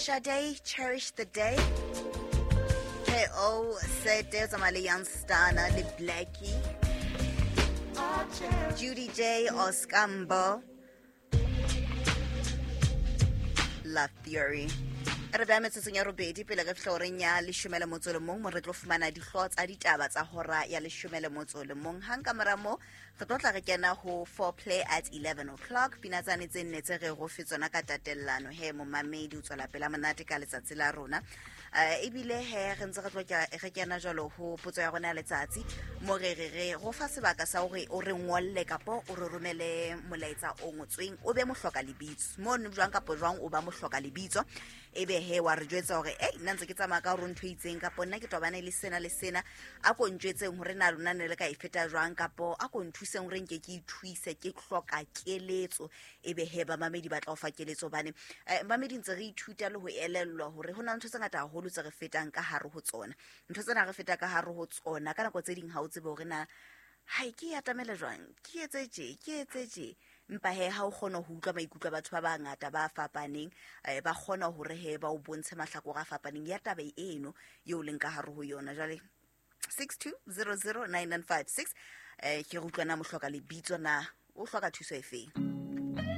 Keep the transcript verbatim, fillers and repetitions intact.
Sade, Cherish the Day. K O Sete o tsamaya le Youngstana le Blackie. Judy J Oskambo. Love Theory. Re beha metsotsong ya robedi pele re fihla horeng ya leshome le motso le mong, mo re tlo fumana dihlooho tsa ditaba tsa hora ya leshome le motso le mong. Hang ka mora moo re tlo tla re kena ho foreplay at eleven o'clock. Pina tsane tse nne tse re go fe tsona ka tatellano he momamedi o tswela pela monate ka letsatsi la rona. Eh, ebile he re ntse re tlo ke-, re kena jwalo ho potso ya rona ya letsatsi, mo re re re go fa sebaka sa hore o re ngolle kapo o re romele molaetsa o ngotsweng, o be mohloka lebitso. Mono jwang kapo jwang o ba mohloka lebitso, ebe he wa re jwetsa hore, ei, nna ntse ke tsamaya ka hore ntho e itseng, kapo nna ke tobane le sena le sena, a ko ntjwetseng hore na lona ne le ka e feta jwang, kapo a ko nthuseng hore nke ke ithuise, ke hloka keletso. Ebe he bamamedi ba tla o fa keletso, hobane, eh, bamamedi ntse re ithuta le ho elellwa hore ho na le ntho tse ngata haholo tse re fetang ka hare ho tsona. Ntho tsena re feta ka hare ho tsona ka nako tse ding ha o tsebe hore na hai ke e atamele jwang, ke etse tje, ke etse tje. Empa he ha o kgona ho utlwa maikutlo a batho ba bangata ba fapaneng, eh, ba kgona hore he ba o bontshe mahlakore a fapaneng ya taba eno eo leng ka hare ho yona. Jwale six two zero zero nine nine five six, eh, ke re utlwa na mohloka lebitso na o hloka thuso e feng?